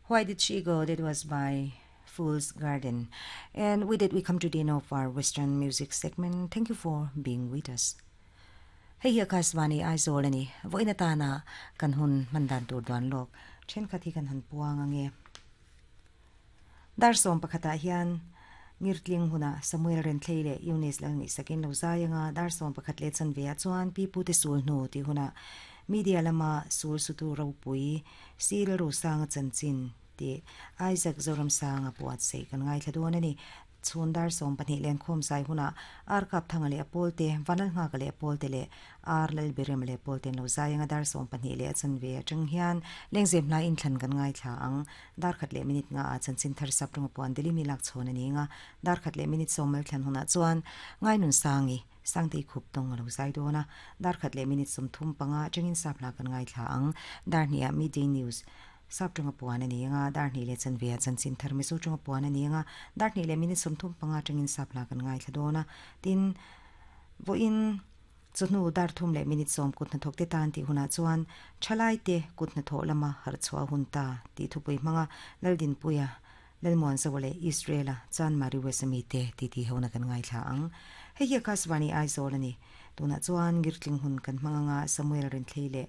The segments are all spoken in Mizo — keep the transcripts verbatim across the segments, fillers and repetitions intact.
Why Did She Go? That was by Fool's Garden. And with it, we come to the end of our Western music segment. Thank you for being with us. Hei hi Akashvani Aizawl ani voina tana kan hun mandan tur duan lok then khathi kan han puang ange dar som pakhata hian ngirtling huna Samuel Renthlei le Eunice lang ni sakin lo zayanga dar som pakhat le chan ve chuan pi pu te sul hnu ti huna media lama sul sutu ropui sil ro sanga chanchin ti Isaac Zoram sanga puat sei kan ngai thladon ani chhun dar som pahnih len khom sai huna ar kap thanga le apol te vanal nga ka le apol te le ar lal berem le apol ten lo zai anga dar som pahnih le chan ve atang hian lengzem hla in thlan kan ngai thla ang dar khat le minute nga a chan chin thar sap ronga puan deli mi lak chhon ani nga dar khat le minute somal thlan huna chuan ngai nun sangi sangte khup tong lo zai dona dar khat le minute som thum panga changin sap la kan ngai thla ang dar hnia midday news sap tonga puan ani nga dar ni le chan ve chan chin thar mi su tonga puan ani nga dar ni le minute som thum panga tangin sap la kan ngai thladona tin vo in chunu dar thum le minute som kut na thok te tan ti huna chuan thalai te kut na tho lama har chwa hun ta ti thupui manga laldin puya lalmon zawale Israela chan mari wesami te ti ti hona kan ngai thla ang hei hi Akashvani Aizawl ani tuna chuan girtling hun kan hmanga Samuel Renthlei le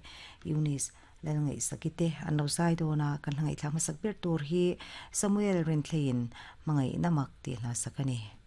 Eunice lalngai sakite an lo zai dona kan hlangai thla hmasak ber tur hi Samuel Renthlein mangai namak ti hla sakani.